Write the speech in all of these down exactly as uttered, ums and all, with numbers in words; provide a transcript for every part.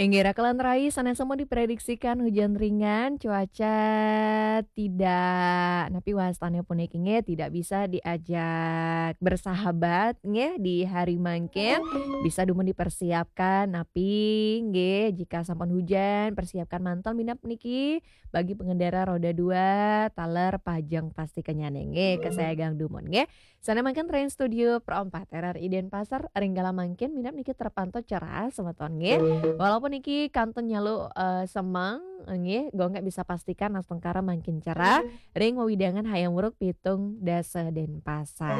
Inggih, rakelan rai, sanes semua diprediksikan hujan ringan, cuaca tidak, napi wastane puniki nggih, tidak bisa diajak bersahabat nggih di hari mangkin. Bisa dumun dipersiapkan, napi nggih jika sampun hujan, persiapkan mantel minab niki bagi pengendara roda dua, taler pajeng pasti kenyane nggih, kesayangan dumun nggih. Sane mangkin ring studio Pro empat R R I Denpasar, ring galah mangkin minab niki terpantau cerah semeton nggih. Walaupun niki kantun nyalu, eh, semeng nggih, Gung Gek bisa pastikan astungkara mangkin cerah ring wewidangan Hayam Wuruk pitung dasa Denpasar.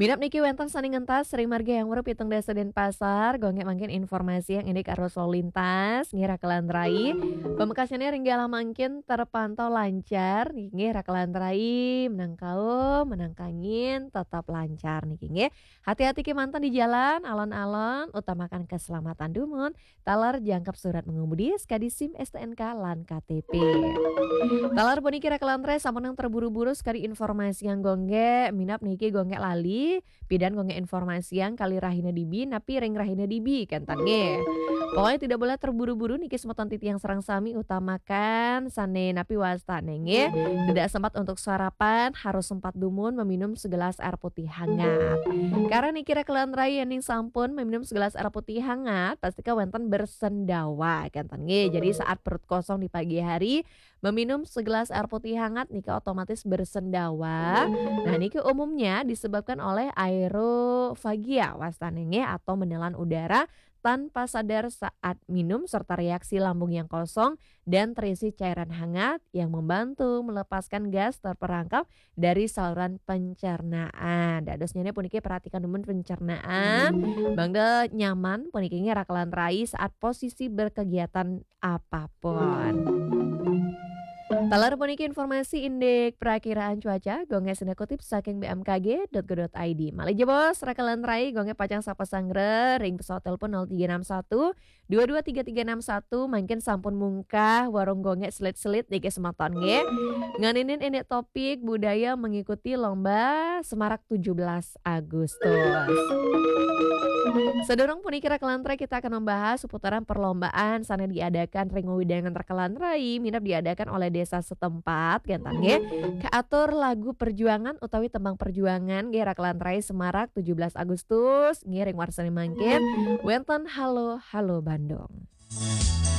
Minab niki wenten sane ngentas ring margi Hayam Wuruk pitung dasa Denpasar, Gung Gek mangkin informasiang indik arus lalu lintas nggih rakelan rai. Pamekasane ring galah mangkin terpantau lancar nggih rakelan rai, menang kaum, menang kangin, tetap lancar niki nggih. Hati-hati kemanten di jalan, alon-alon, utamakan keselamatan dumun, taler jangkep surat mengemudi, sekadi SIM, STNK, lan KTP. Taler puniki rakelan rai, sampun terburu-buru sekadi informasiang Gung Gek, minab niki Gung Gek lali, pidan Gung Gek informasiang kali rahina dibi, napi ring rahina dibi, kenten nggih. Pokoknya tidak boleh terburu-buru niki semeton titiang sareng sami, utamakan sane napi wastane nggih. Tidak sempat untuk sarapan, harus sempat dumun meminum segelas air putih hangat. Karena niki rakelan rai, yening sampun meminum segelas air putih hangat, pasti kawenten bersendawa, kenten nggih. Jadi saat perut kosong di pagi hari, meminum segelas air putih hangat niki otomatis bersendawa. Nah, niki umumnya disebabkan oleh aerofagia wastane nggih, atau menelan udara tanpa sadar saat minum, serta reaksi lambung yang kosong dan terisi cairan hangat yang membantu melepaskan gas terperangkap dari saluran pencernaan. Dadosnyane puniki perhatikan dumun pencernaan, mangda nyaman puniki nggih rakelan rai saat posisi berkegiatan apapun. Taler puniki informasi indik perakiraan cuaca, Gung Gek sinah kutip saking B M K G dot go dot I D. Malih jebos, rakelan rai, Gung Gek pacang sapa sanggra ring pesawat telepon nol tiga enam satu dua dua tiga tiga enam satu, mangkin sampun mungkah warung Gung Gek selit-selit niki semeton nggih. Nganinin indik topik budaya mengikuti lomba Semarak tujuh belas Agustus. Sadurung puniki rakelan rai, kita akan membahas seputaran perlombaan sane diadakan ring wewidangan rakelan rai, minab diadakan oleh desa setempat, kenten nggih. Kaatur lagu perjuangan utawi tembang perjuangan nggih rakelan rai, Semarak tujuh belas Agustus nggih ring warsane mangkin. Wenten Halo Halo Bandung.